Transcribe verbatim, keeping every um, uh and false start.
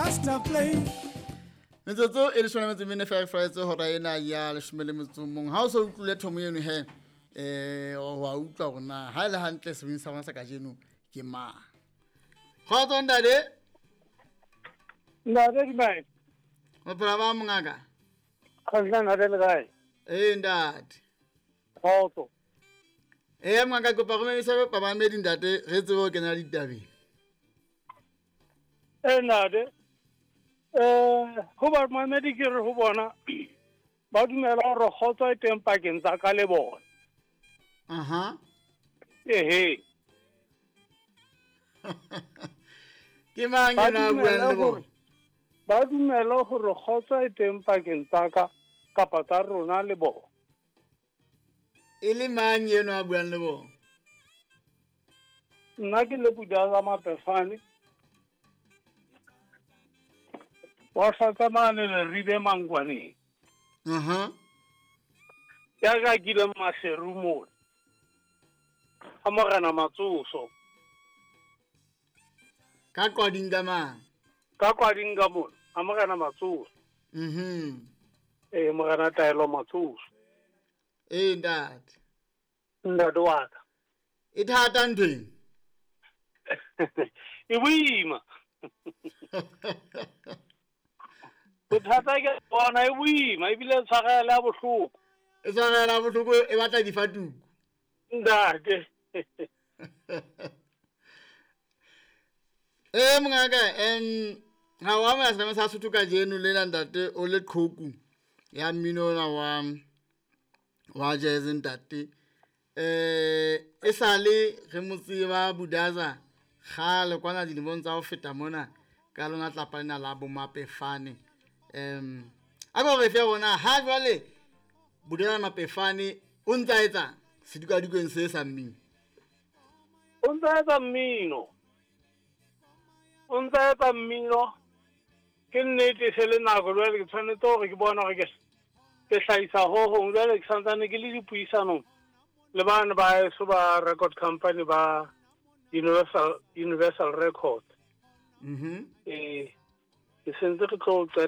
Rasta play. Metsotso e leshome le metso e mene feela fela hora ena ya leshome le metso o mong. Ha o so utlwile thomo eno he, eh wa utlwa hore na ha e le hantle sebini sa rona sa kajeno ke mang. Kgotso ntate. Ntate dumela. Bophelo ba mongaka? Kgotso ntate le kae? Ee ntate. Kgotso. Ee mongaka, kopa go memisa bamamedi ntate re tsebe ho kena ditabeng. Ee ntate. Eh ho ba mamedi ke re ho bona ba dumela hore kgotso e teng pakeng tsa ka le bona. Aha. Ehe. Ke mang ena a buang le bona? Ba dumela hore kgotso e teng pakeng tsa ka kapa tsa rona le bona. E le mang eno a buang le bona? Nna ke le Budaza Mapefane. Wa hlatsa mane Leribe Mangwaneng. Aha. Ya ka kile Maseru mona. A morena Matsoso. Ka Qwading ka mang? Ka Qwading ka mona, a morena Matsoso. Mhm. Eh morena Taelo Matsoso. Eh ntate. Ntate wa ka. E thata nthweng? E boima. Bothata ke bona e boima ebile e tshwarela ya bohloko. E tshwarela bohloko e batla difatuku. Ntate. Eh mongaka, em ha wa mo sa sa Sotho kajeno lena ntate o le qhoku ya mmino ona wa wa jazz ntate. Eh e sale re mo tseba Budaza kgale kwana dilemong tsa ho feta mona ka lona tlapa lena la bo Mapefane. Em a go re fe bona ha jwale Budaza Mapefane o ntsa etsa sedikadikong se sa mmino. O ntsa etsa mmino. O ntsa etsa mmino. Ke nnete se le nako jwale ke tshwanetse hore ke bone hore ke ke hlahisa ho hong jwale ke santsane ke le dipuisanong le bana ba heso ba record company ba Universal Universal Records. Mhm. Eh ke sentse re tlo